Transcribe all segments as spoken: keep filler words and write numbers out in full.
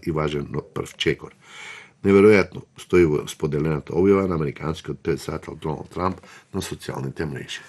и важен прв чекор. Неверојатно стои во споделената објава на американскиот претседател Доналд Трамп на социјалните мрежи.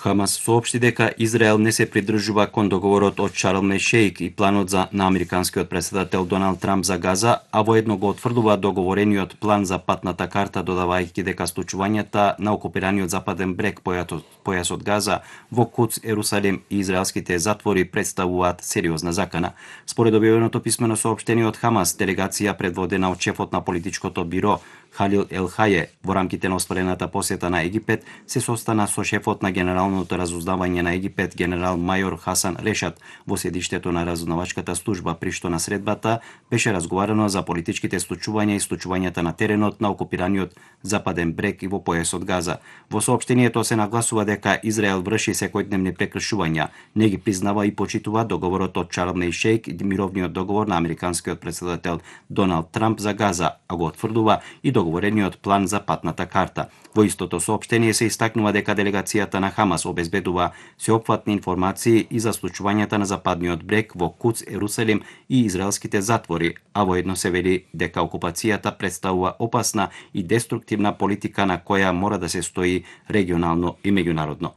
Хамас соопшти дека Израел не се придржува кон договорот од Шарм ел Шејх и планот за на американскиот претседател Доналд Трамп за Газа, а воедно го отврдува договорениот план за патната карта, додавајќи дека случувањата на окупираниот западен брег појасот Газа во Куц, Ерусалим и израелските затвори представуваат сериозна закана. Според објавеното писмено соопштение од Хамас, делегација предводена од шефот на политичкото биро Халил Ел Хаје во рамките на остварената посета на Египет се состана со шефот на Генералното разузнавање на Египет генерал мајор Хасан Решат во седиштето на разузнавачката служба, при што на средбата беше разговарано за политичките случувања и случувањата на теренот на окупираниот западен брег и во појасот Газа. Во соопштението се нагласува дека Израел врши секојдневни прекршувања, не ги признава и почитува договорот од Шарм ел Шејх и мировниот договор на американскиот претседател Доналд Трамп за Газа, а го отврдува и договорениот план за патната карта. Во истото соопштение се истакнува дека делегацијата на Хамас обезбедува сеопфатни информации и за случувањата на западниот брег во Куц, Ерусалим и израелските затвори, а воедно се вели дека окупацијата представува опасна и деструктивна политика на која мора да се стои регионално и меѓународно.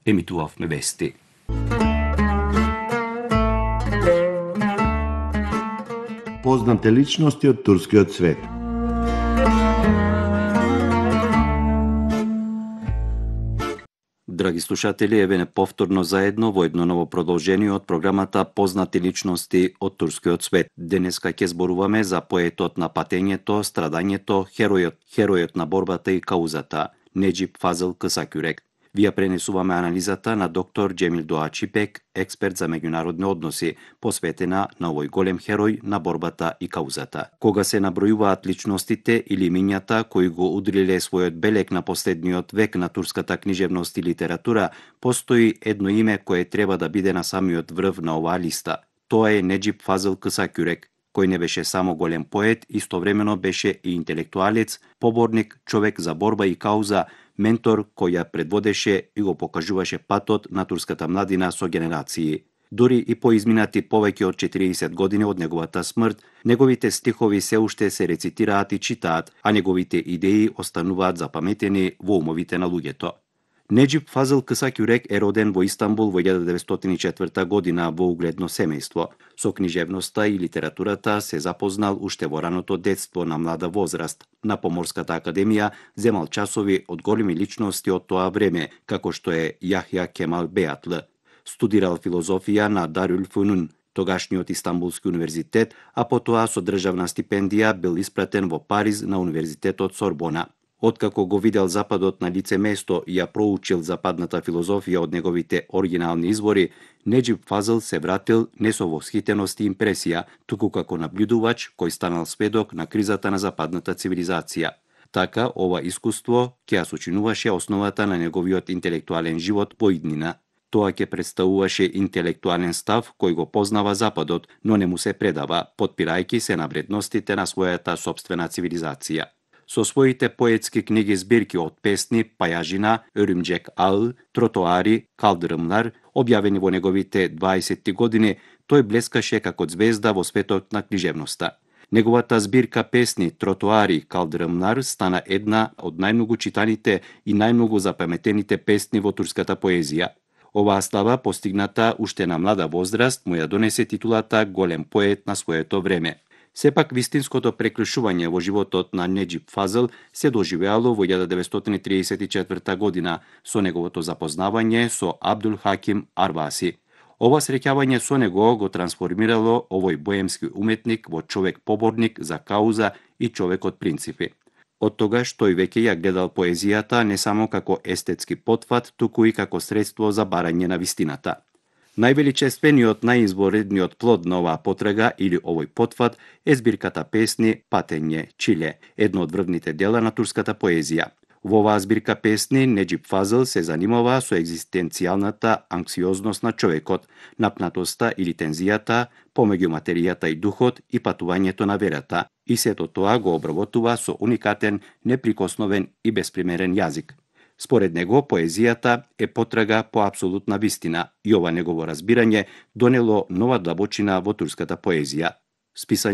Емитувавме вести. Познате личности од турскиот свет. Драги слушатели, еве повторно заедно во едно ново продолжение од програмата Познати личности од турскиот свет. Денеска ќе зборуваме за поетот на патењето, страдањето, херојот, херојот на борбата и каузата, Неџип Фазыл Кысакюрек. Вија пренесуваме анализата на доктор Џемил Доачипек, експерт за меѓународни односи, посветена на овој голем херој на борбата и каузата. Кога се набројуваат личностите или имињата кои го удриле својот белег на последниот век на турската книжевност и литература, постои едно име кое треба да биде на самиот врв на оваа листа. Тоа е Неџип Фазыл Кысакюрек, кој не беше само голем поет, истовремено беше и интелектуалец, поборник, човек за борба и кауза, ментор кој ја предводеше и го покажуваше патот на турската младина со генерации. Дури и по изминати повеќе од четириесет години од неговата смрт, неговите стихови се уште се рецитираат и читаат, а неговите идеи остануваат запаметени во умовите на луѓето. Неџип Фазыл Кысакюрек е роден во Истанбул во илјада деветстотини и четврта година во угледно семејство. Со книжевноста и литературата се запознал уште во раното детство на млада возраст. На Поморската академија земал часови од големи личности од тоа време, како што е Јахја Кемал Беатлы. Студирал филозофија на Дарул Фунун, тогашниот Истанбулски универзитет, а потоа со државна стипендија бил испратен во Париз на Универзитетот Сорбона. Откако го видел Западот на лице место и ја проучил западната филозофија од неговите оригинални извори, Неџип Фазыл се вратил не со восхитеност и импресија, туку како наблюдувач кој станал сведок на кризата на западната цивилизација. Така, ова искуство ќе ја сочинуваше основата на неговиот интелектуален живот во иднина. Тоа ќе представуваше интелектуален став кој го познава Западот, но не му се предава, потпирајќи се на вредностите на својата сопствена цивилизација. Со своите поетски книги збирки од песни, Пајажина, Өрүмџек Ал, Тротоари, Калдырымлар, објавени во неговите дваесетти години, тој блескаше како звезда во светот на книжевноста. Неговата збирка песни Тротоари, Калдырымлар стана една од најмногу читаните и најмногу запаметените песни во турската поезија. Оваа слава, постигната уште на млада возраст, му ја донесе титулата голем поет на своето време. Сепак, вистинското прекршување во животот на Неџип Фазыл се доживеало во илјада деветстотини триесет и четврта година со неговото запознавање со Абдул Хаким Арваси. Ова среќавање со него го трансформирало овој боемски уметник во човек-поборник за кауза и човек од принципи. Од тогаш тој веќе ја гледал поезијата не само како естетски потфат, туку и како средство за барање на вистината. Највеличествениот, најизборедниот плод на оваа потрага или овој потфат е збирката песни Патење Чиле, едно од врвните дела на турската поезија. Во оваа збирка песни Неџип Фазыл се занимава со екзистенцијалната анксиозност на човекот, напнатоста или тензијата помеѓу материјата и духот и патувањето на верата, и сето тоа го обработува со уникатен, неприкосновен и безпримерен јазик. Според него, поезијата е потрага по апсолутна вистина и ова негово разбирање донело нова длабочина во турската поезија. Списање